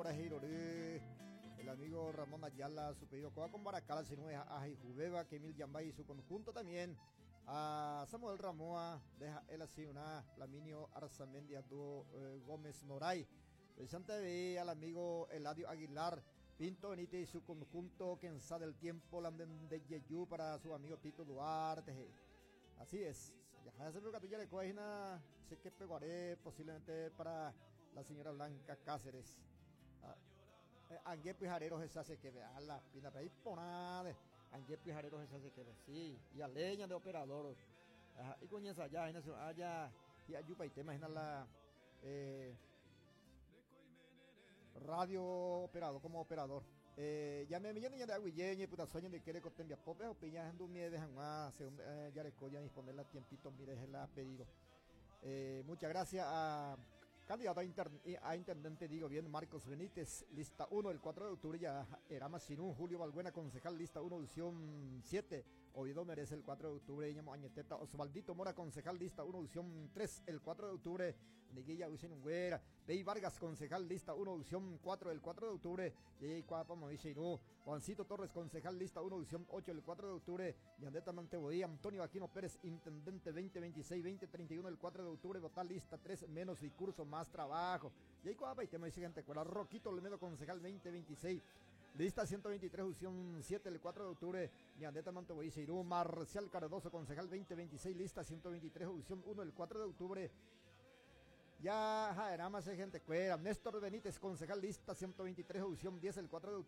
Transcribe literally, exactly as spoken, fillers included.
por el amigo Ramón Ayala, su pedido con Baracala, a Jubeba, que Emil Yambay y su conjunto también. A Samuel Ramoa, deja él así una Flaminio Arzamendia Dúo eh, Gómez Moray. Presente al amigo Eladio Aguilar, Pinto Benítez y su conjunto, Kenza del Tiempo, Landen de Yeyu para su amigo Tito Duarte. Así es. Ya se me ya le sé que pegaré posiblemente para la señora Blanca Cáceres. Ah, eh, Angue Pijarero se hace que vea la pina ahí por nada. Angue Pijarero se hace que ve, sí, y a leña de operador. Ajá, y con esa ya, allá, y ayupa y te imagina la eh, radio operador como operador. Eh, ya me millón de aguilleñe, puta sueño de quiere cotembia pope o piña en mie de janguá, según eh, ya le disponer la tiempito, mire, la pedido. Eh, muchas gracias a candidato a, inter, a intendente, digo bien, Marcos Benítez, lista uno, el cuatro de octubre ya era Masinú, Julio Balbuena, concejal, lista uno, opción siete, Oviedo merece el cuatro de octubre, Ñamo Añeteta, Osvaldito Mora, concejal, lista uno, opción tres, el cuatro de octubre, Niguilla Usenungüera, Bey Vargas, concejal, lista uno, opción cuatro, el cuatro de octubre, Yey Cuapa, Moisheirú, Juancito Torres, concejal, lista uno, opción ocho, el cuatro de octubre, Yandeta Manteboí, Antonio Aquino Pérez, intendente, veinte veintiséis, veinte treinta y uno, el cuatro de octubre, votar lista tres, menos discurso, más trabajo. Y ahí y tema dice gente, Roquito Olmedo, concejal, veinte veintiséis, lista ciento veintitrés, opción siete, el cuatro de octubre, Ñandeta Mantoboí, Seirú, Marcial Cardoso, concejal, veinte veintiséis, lista ciento veintitrés, opción uno, el cuatro de octubre. Ya, ja, era más gente cuera. Néstor Benítez, concejal, lista ciento veintitrés, opción diez, el cuatro de octubre.